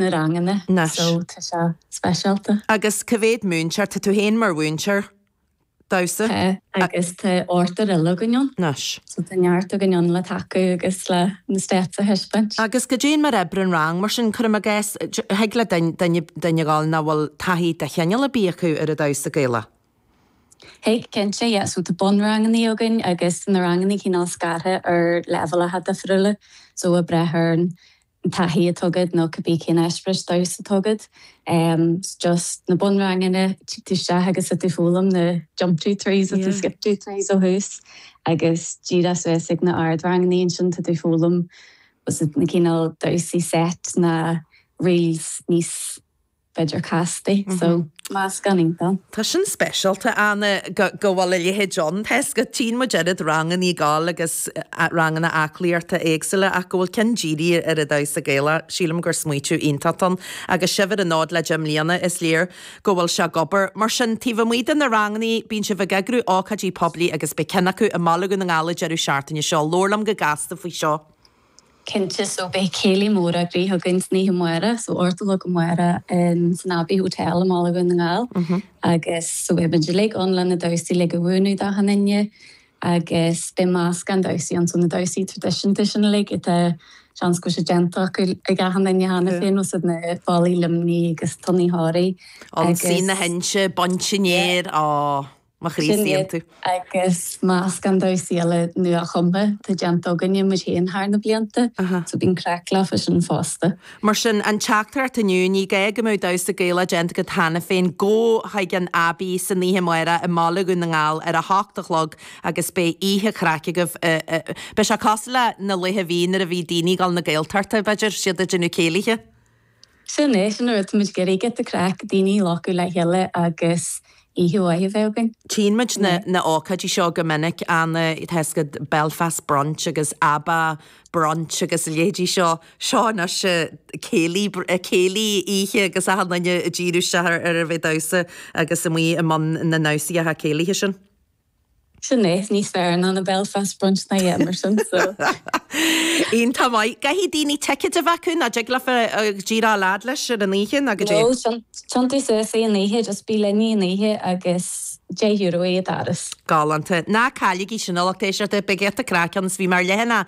na ranganna Anois. so tá sé speisialta. Agus cá mhéad múinteoir, tá tú féin mar mhúinteoir damhsa? Tá, agus tá ochtar eile againn ann. Anois. So tá neart againn ann le tacú agus le na steps a thaispeáint. Agus goidé mar a oibríonn rang mar sin, cuirim i gcás, thig le duine, duine a ghabháil nach bhfuil taithí de chineál ar bith acu ar an damhsa Gaelach? Thig, cinnte, yeah. So tá bunrangannaí againn agus na rangannaí cineál scartha ar leibhéalacha difriúla. So ag brath ar an taithí atá agat nó cibé cén eispéireas damhsa atá agat. So just na bunranganna, tig tú isteach agus tá tú ag foghlaim na jump two threes agus na skip two threes ó thús agus díreach suas ag na ardrangannaí ansin tá tú ag foghlaim na cineál damhsaí set na reels níos b'fhéidir castaí. So, meascán iontach. Tá sin speisialta, Anna, go go bhfuil a leithéid ann. Tá 'fhios agat, tchíonn muid oiread rangannaí ag gabháil agus ranganna aclaíochta éagsúla ach go bhfuil ceann dírithe ar an damhsa Gaelach, sílim gur smaoitiú iontach ann. Agus sibh ar an fhód le 10 mbliana, is léir go bhfuil sé ag obair. Mar sin, taobh amuigh de na rangannaí, bíonn sibh ag eagrú ócáidí poiblí agus beidh ceann acu i mBaile Dhún na nGall an deireadh seachtaine seo. Labhair liom go gasta faoi seo. Cinnte, so beidh céilí mór eagraithe againn san oíche amárach, so 8 a chlog amárach in san Abbey Hotel i mBaile Dhún na nGall agus so beidh muid uilig ann le na damhsaí uilig a mhúineadh d'achan duine agus beidh meascán damhsaí ann, so na damhsaí traidisiúnta sin uilig atá seans go bhfuil sé déanta acu ag achan duine cheana féin, so na Fallaí Luimnigh agus Tonnaí Thoraí agus. Ionsaí na hInse, Baint an Fhéir, á. Mo chroí Sin iad saonta. agus meascán damhsaí eile nua-chumtha atá déanta againne muid féin thar na blianta, so bíonn craic leofa sin fosta. Mar sin, an teachtaireacht inniu, ní gá go mbeadh damhsa Gaelach déanta agat cheana féin, gabh chuig an Abbey san oíche amárach i mBaile Dhún na nGall ar a hocht a chlog agus beidh oíche chraic agaibh. Beidh sé cosúil le na laetha a bhí nuair a bhí daoine ag dul na Gaeltachta, b'fhéidir, siad ag déanamh céilithe. Sin é, sin an rud, tá muid ag iarraidh giota craic, daoine a ghlacadh le chéile agus oíche mhaith a bheith againn. Tchíonn muid na na ócáidí seo go minic, Anna, tá 'fhios agat Belfast Brunch agus ABBA Brunch agus a leithéidí seo. Seo anois céilí, céilí oíche agus achan duine ag díriú isteach ar ar a bheith ag damhsa agus amuigh i mbun na ndamhsaíocha céilithe sin. Sin é, níos fearr ná na Belfast Brunch ná yeah mar sin so. Iontach maith. Caithfidh daoine ticéid a bheith acu nó dtig leofa díreach a fhad leis ar an oíche nó goidé? No, tiontú suas é an oíche, just bí linn an oíche agus €10 é an doras. Galánta. Ná cailligí sin a lucht éisteachta, beidh giota craic ann is bhí mé ar leathanach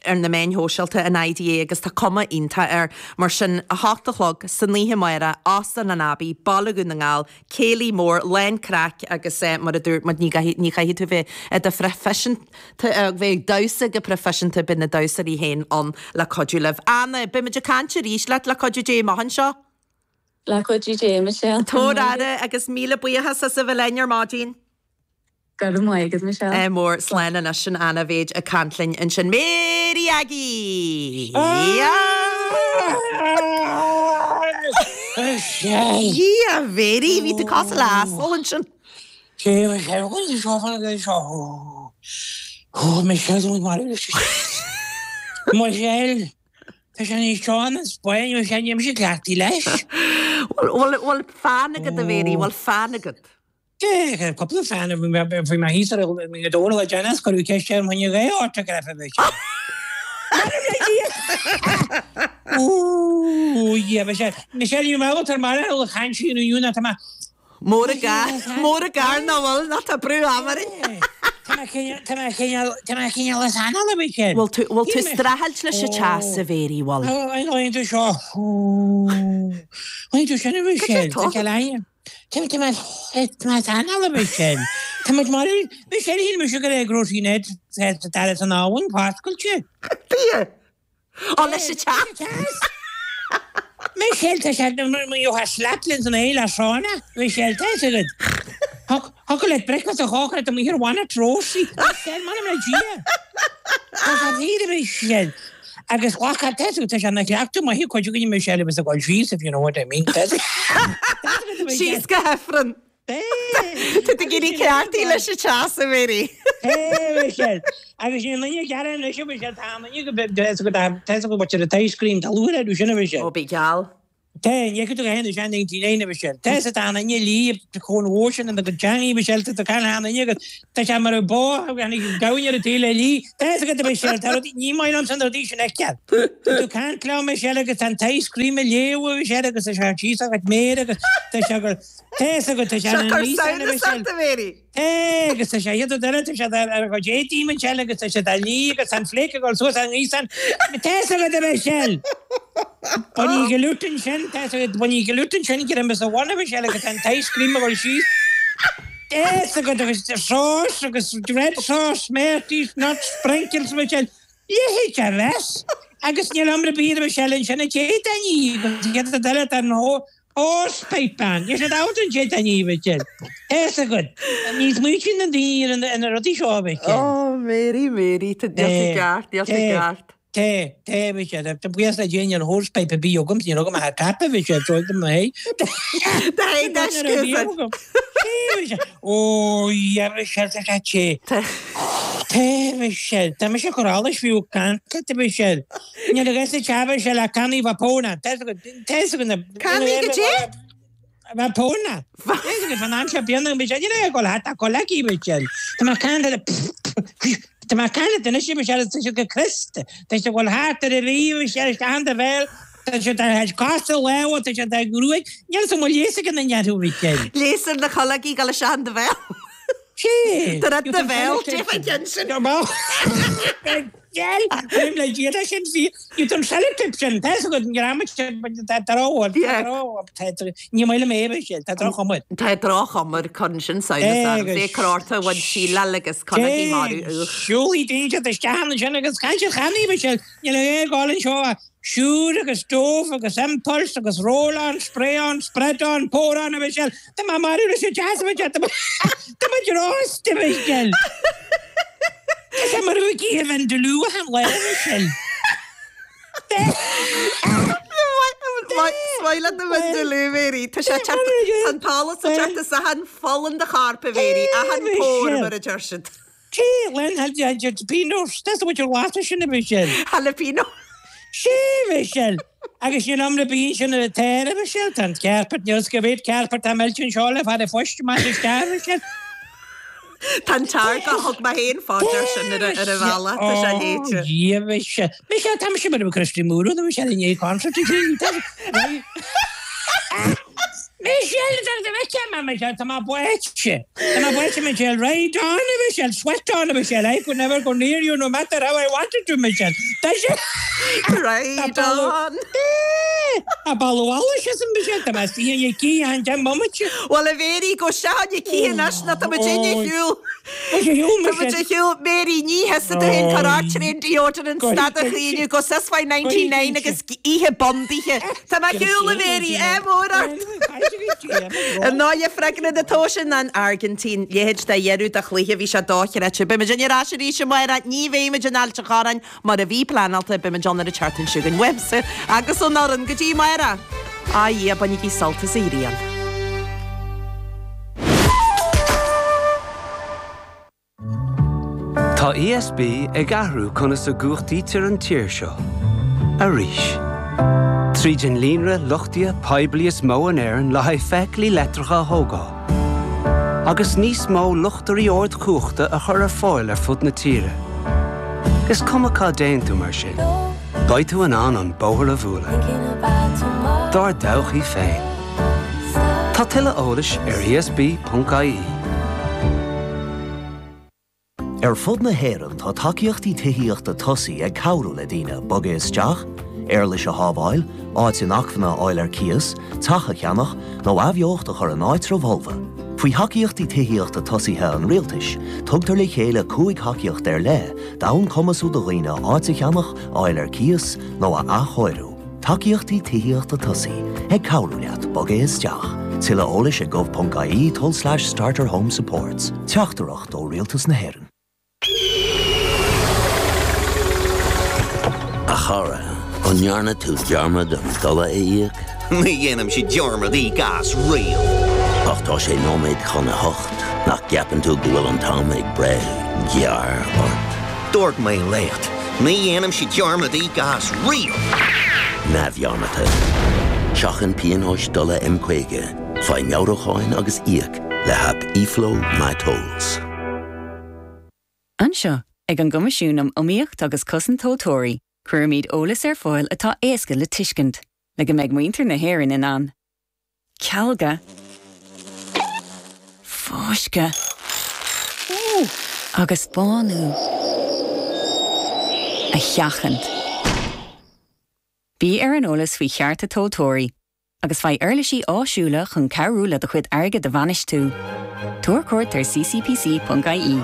ar na meáin shóisialta an IDA agus tá cuma iontach air. Mar sin, 8 a chlog san oíche amárach, Óstán an Abbey, Baile Dhún na nGall, Céilí mór, lán craic agus mar a dúirt muid ní ní chaithfidh tú bheith i do phroifisiúnta, bheith ag damhsa go proifisiúnta, beidh na damhsóirí féin ann le cuidiú libh. Anna, beidh muid ag caint arís leat le cuidiú Dé amach anseo. Le cuidiú Dé, Michelle. Tabhair aire agus míle buíochas as a bheith linn ar maidin. Go raibh maith agat, Michelle. Ádh mór, slán anois sin Anna Bhéid ag caint linn ansin. Mary Aggie! Dhia, Mary, bhí tú cosúil le asal ansin. Michelle, tá sé níos sean an Spáinn, Michelle, níl mise cleachtaithe leis. Bhfuil bhfuil fonn agat, a Mhary, bhfuil fonn agat? Cúpla fonn bhí mé thíos ar an dór le déanamh is cuireadh ceist orm choinne dhá ortograf a bheith. Ooh, yeah, Michelle, Michelle, you mé tar mar a chaint sí inniu ná tá mé. Mór an gar, mór an gar nach bhfuil, ná tá brú ama orainn. Tá mé tá mé cineál, tá mé cineál as anáil a Michelle. Bhfuil tú, bhfuil tú streachailt leis an teas, a Mhary, bhfuil? An bhfuil tú seo? Bhfuil tú sin a Michelle? Tá sé le Tá tá mé tá mé as anáil a Michelle. Tá muid mar Michelle shíl mise go raibh grocery net dar san abhainn foscailte. Dia! Ó leis an teas! Michelle tá sé you have slept in san éile sauna Michelle tá fhios agat. Thiocfadh leat breakfast a chócaireacht amuigh ar bhanna trófaí. Michelle m'anam le Dia. Tá sé fíor a Michelle. Agus ghlac tá fhios agat tá sé ina chleachtadh maith ag cuid againne Michelle a bheas ag dul síos if you know what I mean. Síos go hIfreann. Tá tú ag éirí cleachtaithe leis an teas, a Mhary. Michelle. Agus ní duine gearr anois a Michelle, tá an duine go tá fhios agat tá fhios agat what you're ice cream, tá lúth air sin a Michelle. Ó bí geall. Tá, ní fhaca tú go haon sean 99 a Mhichelle. Tá sa tá an fhine lí chomh mhór sin ina gcuid teangaí Mhichelle tá tú caint an fhine agus tá sé mar a bó tháinig gamhain ar an taobh le lí. Tá fhios agat a Mhichelle, tá rudaí, ní maith liomsa na rudaí sin a fheiceáil. Tá tú caint liom Michelle agus tá an t-ice cream ag léamh a Mhichelle agus tá sé síos a chuid méire agus tá sé go, tá fhios agat tá sé Seo ina cur ngríosán a samhnas Mhichelle. ort a Mary. É, agus tá sé iad eile, tá siad ar a gcuid éadaí Michelle agus tá siad á lí agus tá an flake ag dul suas an ngaosán. Tá fhios agat a Mhichelle! Baineadh glútan sin, tá fhios agat, baineadh glútan sin go raibh sa bhun a Mhichelle agus tá an t-ice cream ag dul síos. Tá fhios agat agus sauce agus red sauce, Smarties, nuts, sprinkles Michelle. Leithéid de mess! Agus níl iomra bíd a Mhichelle ansin a d'fhéadfainn í agus iad eile tá an Hosepipe ban. Níl siad ábalta an téad a ní, a Mhichelle. Tá fhios agat. Ní smaoitíonn na daoine ar na rudaí seo, a Mhichelle. Oh, Mary, Mary, tá, níl tú ceart, níl tú ceart. Tá, tá, a Mhichelle. Tá buíochas le Dia níl hosepipe ar bith agam, níl agam ach tap, a Mhichelle, so do mo hé. Do hé deisce, Tá, a Mhichelle. Ó, yeah, a Mhichelle, tá sé te. Tá. Tá, a Mhichelle. Tá mise ag cur allais fiú ag caint leat, a Mhichelle. Níl a fhios ag a Mhichelle ach cannaí Vapona. Tá fhios agat na. Cannaí goidé? Vapona. Tá fhios agat fan aimsir bíonn Michelle. Níl aon gol thart ach col aici Michelle. Tá mé ag caint le Tá mé ag caint leat anois Michelle tá siad go Criosta. Tá siad ag dul thart ar a rí Michelle isteach in do bhéal. Tá siad ar cosa lámha, tá siad ar ghruaig. Níl fhios an bhfuil leigheas ag an duine orthu Michelle. Leigheas ar na cológaí ag dul isteach in do bhéal. Sé. Tá rud do bhéal, déarfá an ceann sin. Gel, Bím le Dia leis sin bhí you don sellotape sin, tá fhios agat an greamaigh sin, tá droch, tá droch, ní maith liom é bheith sin, tá droch-chuma air. Tá droch-chuma air, cuireann sin samhnas orm, bhí cur orthu bhain síleáil agus cológaí marú, ugh. Siúlfaidh daoine isteach ansin agus caint ar channaí, Michelle, níl aon gol anseo ach Sure agus Dove agus Impulse agus Roll on, Spray on, Spread on, Pour on a Mhichelle, tá mé marbh leis an deas a Mhichelle, tá mé drústa a Mhichelle. Tá sé mar a bheadh oíche Vindaloo achan lá a Mhichelle. Is maith leat na Vindaloo, Mary. Tá sé teacht, tá an t-allas ag teacht as achan pholl in do chorp, a Mhary, achan pore mar a deir siad. Sé, len jalapenos, that's what your latta sin a Mhichelle. Jalapeno. Sé, Mhichelle. Agus sin am na bíonn sin ar an t-aer, a Mhichelle, tá an carpet, níl 's go bhféad carpet tá meilte anseo le fada phoist amach isteach, a Mhichelle. Tá an t-ár go thug mé féin fá dear sin ar an bhealach, tá sé léite. Ó, Dhia, Mhichelle. Michelle, tá mise mar a bheadh Christy Moore, a Mhichelle, i ndiaidh concert a chríochnú. Michelle, tá mé Michelle, tá mé báite. Tá mé báite, Michelle. Ride on, a Michelle. Sweat on, a Michelle. I could never go near you no matter how I wanted to, Michelle. Tá sé. Ride on. Tá bailiú allais as an Michelle. Tá mé istigh i gcith an deich mbomaite. Bhuel, a Mhéirí, gabh isteach chun cinn anois nó tá muid ar shiúl. Tá muid ar shiúl. Mary, ní thusa tú féin cur ort ar aon deodorant stad a chaoineadh go sus fá 99 agus oíche bundaithe. Tá mé ar shiúl, a Mhary, ádh mór ort! Ar ndóigh, freagra na tomhaise ná an Airgintín. Leithéid de dheireadh de chluiche, bhí sé dochreidte. Beidh muid ar ais arís amárach, ní bheidh muid in Ailt an Chorráin mar a bhí pleanáilte, beidh muid ann ar an tseachtain seo chugainn. Uaimse agus ón fhoireann, go dtí amárach! A Dhia, bainigí sult as an ghrian. Tá ESB ag athrú conas a gcumhachtaítear an tír seo. Arís. Tríd an líonra luchtaithe poiblí is mó in Éirinn le haghaidh feithiclí leictreacha a thógáil. Agus níos mó luchtairí ardchumhachta a chur ar fáil ar fud na tíre. Is cuma cá dtéann tú mar sin, beidh tú in ann an bóthar a bhualadh. Dár dtodhchaí féin. Tá tuilleadh eolais ar esb.ie. Ar fud na hÉireann tá tacaíochtaí tithíochta tosaigh ag cabhrú le daoine bogadh isteach, éarlais a shábháil, áit inacmhainne a fháil ar cíos, teach a cheannach, nó athbheocht a chur in áitreabh fholmha. Faoi Thacaíochtaí Tithíochta Tosaithe an Rialtais, tugtar le chéile 5 thacaíocht ar leith d'fhonn cumasú do dhaoine áit a cheannach, a fháil ar cíos, nó a athchóiriú. Tacaíochtaí Tithíochta Tosaigh, ag cabhrú leat bogadh isteach. Tuilleadh eolais ag gov.ie tulslais starter home supports. Teachtaireacht ó Rialtas na hÉireann. A chara, an ndearna tú dearmad an dola a íoc? Ní dhéanaimse dearmad íoc as riamh. Ach tá sé nóiméad chun a hocht, nach gceapann tú go bhfuil an t-am ag breith gearr ort? Dúirt mé leat, ní dhéanaimse dearmad íoc as riamh! neamhdhearmadta. Seachain pionóis dola M50, faigh meabhrúcháin agus íoc le haip eFlow MyTolls. Anseo, ag an gCoimisiún um Iomaíocht agus Cosaint Tomhaltóirí, cuirimid eolas ar fáil atá éasca le tuiscint, le go mbeidh muintir na hÉireann in ann cealga, fáisceadh agus bánú a sheachaint. Bí ar an eolas faoi chearta tomhaltóirí agus faigh uirlisí áisiúla chun cabhrú le do chuid airgid a bhainistiú. Tabhair cuairt ar ccpc.ie.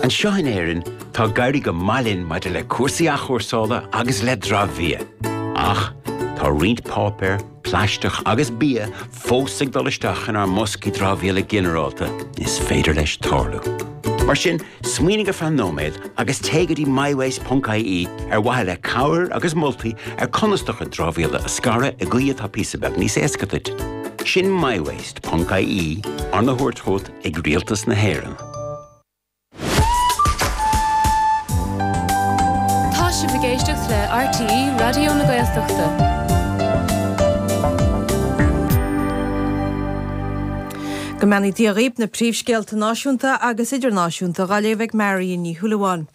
Anseo in Éirinn, tá ag éirí go maith linn maidir le cúrsaí athchúrsála agus le dramhbhia. Ach tá roinnt páipéar, plaisteach agus bia fós ag dul isteach inár mboscaí dramhaíola ginearálta. Is féidir leis tarlú. Mar sin, smaoinigh ar feadh nóiméad agus téigh go dtí mywaste.ie ar mhaithe le cabhair agus moltaí ar conas do chuid dramhaíola a scaradh i gcaoi atá píosa beag níos éasca duit. Sin mywaste.ie, arna thabhairt chugat ag Rialtas na hÉireann. Tá sibh ag éisteacht le RTÉ Raidió na Gaeltachta. Go mbeannaí Dia dhaoib, na príomhscéalta náisiúnta agus idirnáisiúnta dhá léamh ag Marion Ní Shúilleabháin.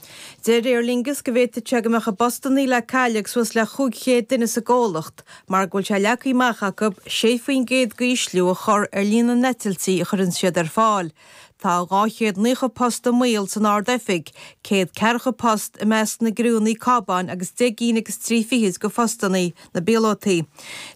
Deir Aer Lingus go bhféadfadh sé go mbeadh a bpostannaí le cailleadh ag suas le 500 duine sa gcomhlacht mar go bhfuil sé leagtha amach acu 6% d'ísliú a chur ar líon na n-eitiltí a chuireann siad ar fáil. Tá 290 post i mbaol san Ard-Oifig, 100 ceathracha post i measc na gcriúnna cábáin agus 10 gcinn agus 3 fichid de phostannaí na bpíolótaí.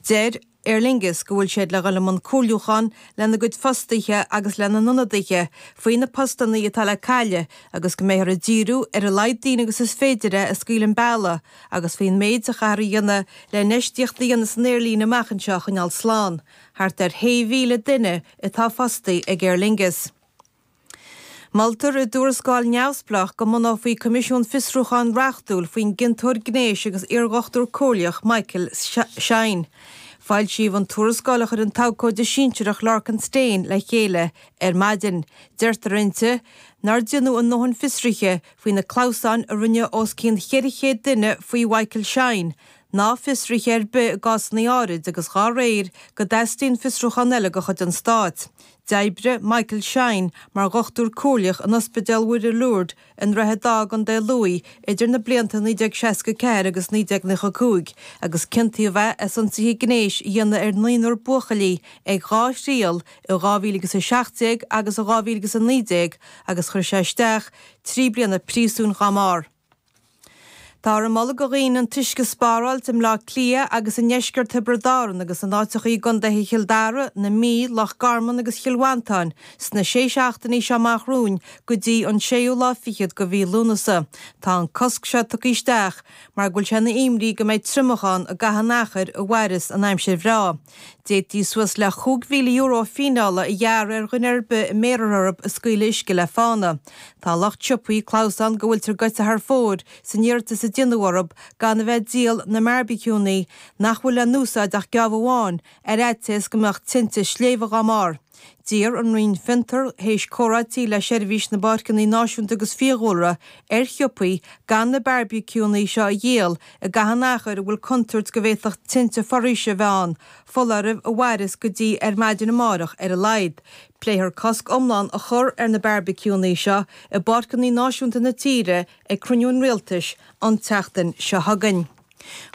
Deir Aer Lingus go bhfuil siad le dhul i mbun comhairliúchán lena gcuid fostaithe agus lena n-ionadaithe faoi na postannaí atá le cailleadh agus go mbeifear ag díriú ar a laghad daoine agus is féidir é a scaoileadh an bealach agus faoin méid a chaithfear a dhéanamh le infheistíocht a dhéanamh san aerlíne amach anseo a choinneáil slán. Thart ar 6,000 duine atá fostaithe ag Aer Lingus. Moltar i dtuarascáil neamhspleách go mbunófaí coimisiún fiosrúcháin reachtúil faoin gciontóir gnéis agus iardhochtúir comhairleach Michael Shine. Foilsíodh an tuarascáil a chuir an t-abhcóide sinsearach Lorcan Stane le chéile ar maidin. Deirtear inti nár déanadh a ndóthain fiosruithe faoi na clamhsáin a rinneadh os cionn 400 duine faoi Mhichael Shine ná fiosruithe ar bith i gcásanna áirid agus dhá réir go dteastaíonn fiosrúchán eile de chuid an Stáit. D'oibrigh Michael Shine mar dhochtúir comhairleach in Ospidéal Mhuire Lourdes i nDroichead Átha i gContae Lú idir na blianta 1964 agus 1995 agus ciontaíodh é as ionsaithe gnéis a dhéanamh ar naonúr buachaillí ag dhá thriail i 2017 agus i 2019 agus chuir sé isteach 3 bliana príosúin dhá mbarr. Táthar ag moladh do dhaoine an t-uisce a spáráilt i mBleá Cliath agus i ndeisceart Thiobraid Árann agus in áiteachaí i gcontaetha Chill Dara, na Mí, Loch Garman agus Chill Mhantáin sna sé seachtainí seo amach romhainn go dtí an séú lá fichead de mhí Lúnasa. Tá an cosc seo tugtha isteach mar go bhfuil sé ina imní go mbeidh triomach ann i gcaitheamh an achair a mhairfeas an aimsir bhreá. D'fhéadfaí suas le €5,000 fíneála a ghearradh ar dhuine ar bith a mbéarfar orthu ag scaoileadh uisce le fána. Tá lucht siopaí clamhsán go bhfuiltear goite thar fóir san iarratas a déanadh orthu gan a bheith ag díol na mbearbaiciúnna nach bhfuil le n-úsáid ach geábh amháin ar fhaitíos go mbeadh tinte sléibhe dhá mbarr. D'iarr an Roinn Fiontar, théis comhráití le Seirbhís na bPáirceanna Náisiúnta agus Fiadhúlra, ar shiopaí gan na bearbaiciúnna seo a dhíol i gcaitheamh an achair a bhfuil contúirt go bhféadfadh tinte foraoise a bheith ann, foláireamh a mhairfeas go dtí ar maidin amárach ar a laghad. Pléifear cosc iomlán a chur ar na bearbaiciúnna seo i bpáirceanna náisiúnta na tíre ag cruinniú an Rialtais an tseachtain seo chugainn.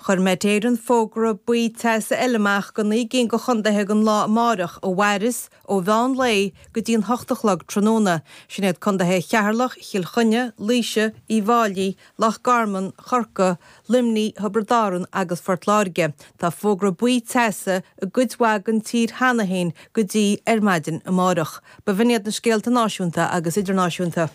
Chuir Met Éireann fógra buí teasa eile amach do naoi gcinn de chontaetha don lá amárach a mhairfeas ó mheán lae go dtí an hocht a chlog tráthnóna. Sin iad contaetha Cheatharlach, Chill Chainnigh, Laoise, Uíbh Fháilí, Loch Garman, Chorcaí, Luimnigh, Thiobraid Árann agus Phort Láirge. Tá fógra buí teasa i gcuid mhaith den tír cheana féin go dtí ar maidin amárach. B'in iad na scéalta náisiúnta agus idirnáisiúnta.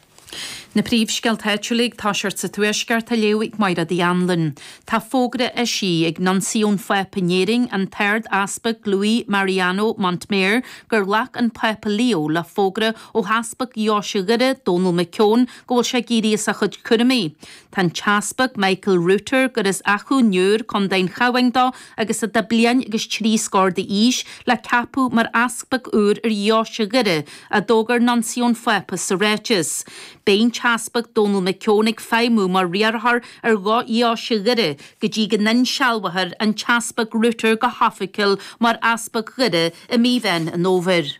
Na príomhscéalta áitiúla ag toiseacht sa Tuaisceart á léamh ag Mairéad Uí Anluain. Tá fógra eisithe ag Nuncio an Phápa in Éirinn, an tArd-Easpag Luis Mariano Montmayor, gur ghlac an Pápa Leo le fógra ó Easpag Dheoise Dhoire, Dónal McKeown, go bhfuil sé ag éirí as a chuid cúraimí. Tá an tEaspag Michael Rutter, gur as Achadh an Iúir, Co. an Chabháin dó agus atá bliain agus trí scór d'aois, le ceapadh mar easpag úr ar Dheoise Dhoire, a d'fhógair Nuncio an Phápa sa ráiteas. Beidh an tEaspag Dónal McKeown ag feidhmiú mar riarthóir ar Dheoise Dhoire go dtí go n-insealbhófar an tEaspag Rutter go hoifigiúil mar Easpag Dhoire i mí Mheán an Fhómhair.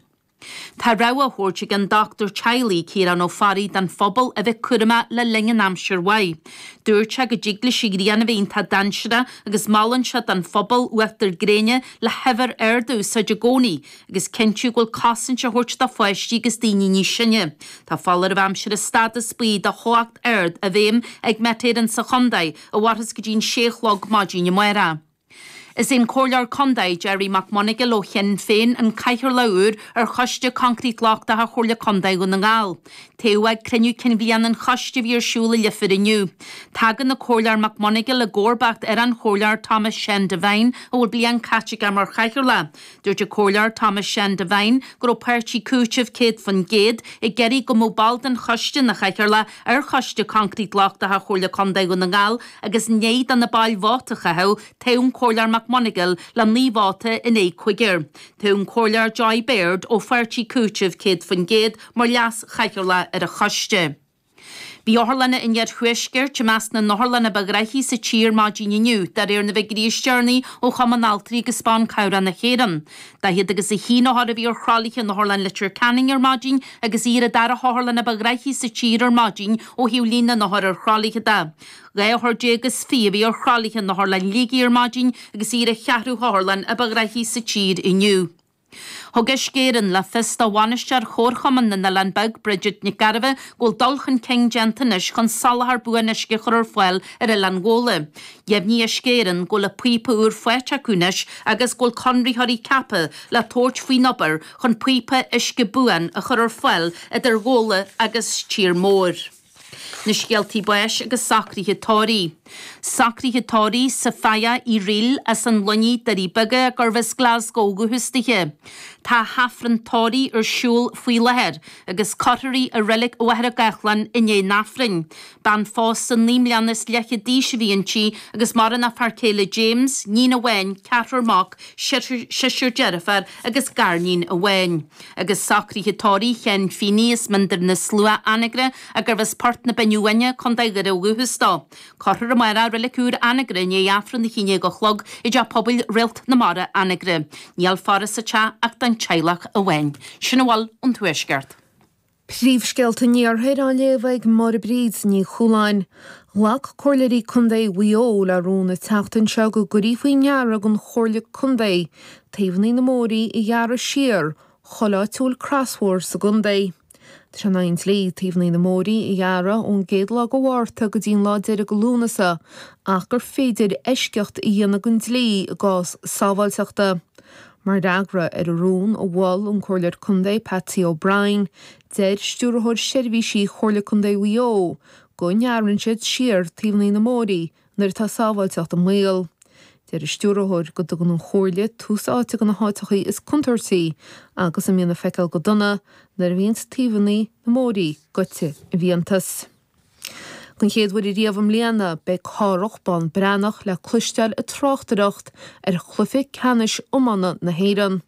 Tá rabhadh á thabhairt ag an dochtúir teaghlaigh, Ciarán Ó Fearraigh, don phobal a bheith cúramach le linn an aimsir mhaith. Dúirt sé go dtig leis an ghrian a bheith iontach dainséarach agus molann sé don phobal uachtar gréine le huimhir ard a úsáid i gcónaí agus cinntiú go bhfuil cosaint á thabhairt do pháistí agus daoine níos sine. Tá foláireamh aimsire stádas buí do theocht ard i bhfeidhm ag Met Éireann sa chontae a mhairfeas go dtí an sé a chlog maidin amárach. Is é an Comhairleoir Contae, Gerry McMonagall ó Shinn Féin an Cathaoirleach úr ar Choiste Coincreít Lochtacha Chomhairle Contae Dhún na nGall. Toghadh é ag cruinniú cinn bhliana an choiste a bhí ar siúl i Leifear inniu. Tagann an Comhairleoir McMonagall i gcomharbacht ar an Chomhairleoir Thomas Sean Devine a bhfuil bliain caite aige mar Chathaoirleach. Dúirt an Comhairleoir Thomas Sean Devine go raibh páirtí Cúiteamh 100% ag iarraidh go mbeadh ball den choiste ina chathaoirleach ar Choiste Coincreít Lochtacha Chomhairle Contae Dhún na nGall agus i ndiaidh do na baill vóta a chaitheamh, toghadh an Comhairleoir McMonagall le 9 vóta in aghaidh cúigear. Toghadh an Comhairleoir Joy Baird ó pháirtí Cúiteamh 100% mar leas-chathaoirleach ar an choiste. Bhí otharlanna an iarthuaiscirt i measc na n-otharlanna ba ghraithí sa tír maidin inniu, de réir na bhfigiúirí is deireanaí ó Chumann Altraí agus Ban Cabhrach na hÉireann. 40 agus 1 othar a bhí ar thralaithe in Otharlann Leitir Ceanainn ar maidin agus í ar an dara hotharlann a ba ghraithí sa tír ar maidin ó thaobh líon na n-othar ar thralaithe de. 12 othar is 20 a bhí ar thralaithe in Otharlann Shligigh ar maidin agus í ar an cheathrú hotharlann a ba ghraithí sa tír inniu. Thug Uisce Éireann le fios do bhainisteoir Chomharchumann na nOileán Beag, Bridget Nic Gairbheith, go bhfuil dul chun cinn déanta anois chun soláthar buan uisce a chur ar fáil ar Oileán Ghabhla. Dheimhnigh Uisce Éireann go bhfuil an píopa úr faighte acu anois agus go bhfuil conraitheoirí ceaptha le tabhairt faoin obair chun píopa uisce buan a chur ar fáil idir Ghabhla agus Tír Mór. Na scéaltaí báis agus socruithe tórraimh. Socruithe tórraimh Sophia Uí Fhrighil as an Luinnigh, Doirí Beaga, gurbh as Glasgow ó dhúchas dithe. Tá a hAifreann tórraimh ar siúl faoi láthair agus cuirfear í i Reilig Mhachaire Gathlán i ndiaidh an Aifrinn. Bean phósta 9 mbliana is leathchead d'aois a bhí inti agus maireann a fear céile James, níon amháin, ceathrar mac, seisear deirféar agus gariníon amháin. Agus socruithe tórraimh Sheáin Feeney as Miondar na Slua, Anagaire, gurbh as Port na Binne Uaine, Co. Dhoire ó dhúchas dó. Cuirfear amárach i Reilig Úr Anagaire i ndiaidh Aifreann 11 a chlog i dTeach Pobail Réalt na Mara, Anagaire. Níl faire sa teach ach don teaghlach amháin. Sin a bhfuil ón Tuaisceart. Príomhscéalta an Iarthair á léamh ag Máire Bríd Ní Chualáin. Ghlac Comhairleoirí Contae Mhaigh Eo le rún an tseachtain seo go gcuirfí faoi ndeara don Chomhairle Contae taobhanna na mbóithrí a ghearradh siar chuile áit a bhfuil crosbhóthar sa gcontae. Tá sé in aghaidh an dlí taobhanna na mbóithrí a ghearradh ón gcéad lá de Mhárta go dtí an lá deiridh de Lúnasa ach gur féidir eisceacht a dhéanamh den dlí i gcás sábháilteachta. Mar fhreagra ar an rún a mhol an Comhairleoir Contae Patsy O'Brien, deir Stiúrthóir Seirbhísí Chomhairle Contae Mhaigh Eo go ngearrann siad siar taobhanna na mbóithrí nuair atá sábháilteacht i mbaol. Deir an Stiúrthóir go dtugann an Chomhairle tús áite do na háiteachaí is contúirtí agus a mbíonn le feiceáil go dona nuair a bhíonns taobhanna na mbóithrí goite i bhfiántas. Don chéad uair ariamh i mbliana, beidh Cárthach Bán Breathnach le cloisteáil ag tráchtaireacht ar chluiche ceannais iomána na hÉireann.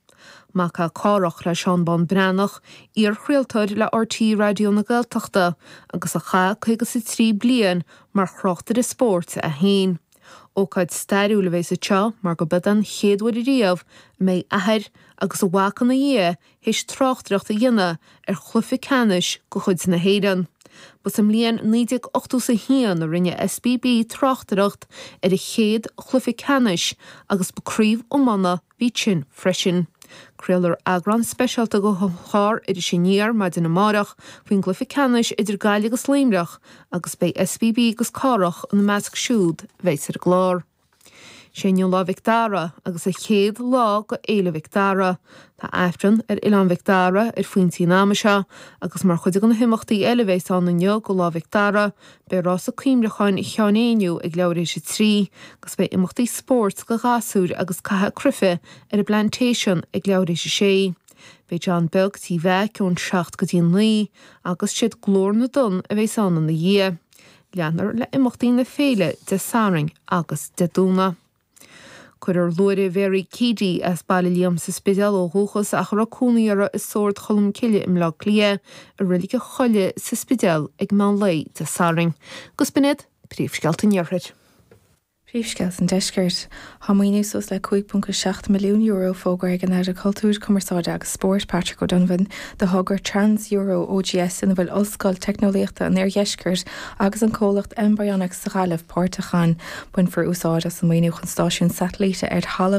Mac é Cárthach le Seán Bán Breathnach, iar-chraoltóir le RTÉ Raidió na Gaeltachta agus a chaith 53 bliain mar thráchtaire spóirt é féin. Ócáid stairiúil a bheas anseo mar go b'iod an chéad uair ariamh a mbeidh athair agus a mhac ina dhiaidh théis tráchtaireacht a dhéanamh ar chluiche ceannais de chuid na hÉireann. Ba sa mbliain 1981 a rinne SBB tráchtaireacht ar a chéad chluiche ceannais agus ba craobh iomána a bhí ansin freisin. Craolfar eagrán speisialta de chlár Iris Aniar maidin amárach faoin gcluiche ceannais idir Gaillimh agus Luimneach agus beidh SBB agus Cárthach ina measc siúd a bheas ar an gclár. Sé inniu Lá Mhic Dara agus an chéad lá go Fhéile Mhic Dara. Tá Aifreann ar Oileán Mhic Dara ar phointí an ama seo agus mar chuid de na himeachtaí eile a bheas ann inniu go Lá Mhic Dara beidh rása cuimhneacháin Sheáin Éinniú ag leathuair théis a 3 agus beidh imeachtaí spóirt go ghasúir agus caitheamh cruife ar an bPlantation ag leathuair théis a 6. Beidh John Beag Tí Mheaic ón 7 go dtí a 9 agus siad Glór na dTonn a bheas ann ina dhiaidh. Leanfar le imeachtaí na féile Dé Sathairn agus Dé Domhnaigh. Cuirfear luaithre Mhary Keady, as Baile Liam sa Spidéal ó dhúchas ach a raibh cónaí uirthi i Sord Cholm Cille i mBleá Cliath, i Reilig a' Choilligh sa Spidéal ag meán lae Dé Sathairn. Agus b'in iad príomhscéalta an Iarthair. Príomhscéalta an Deiscirt. Tá maoiniú suas le €5.7 milliún fógartha ag an Aire Cultúir, Cumarsáide agus Spóirt, Patrick O'Donovan, do thogra Trans-Euro OGS ina bhfuil Ollscoil Teicneolaíochta an Oirdheiscirt agus an comhlacht Mbionics sa Ghaillimh páirteach ann. Bainfear úsáid as an maoiniú chun stáisiún satailíte ar thalamh.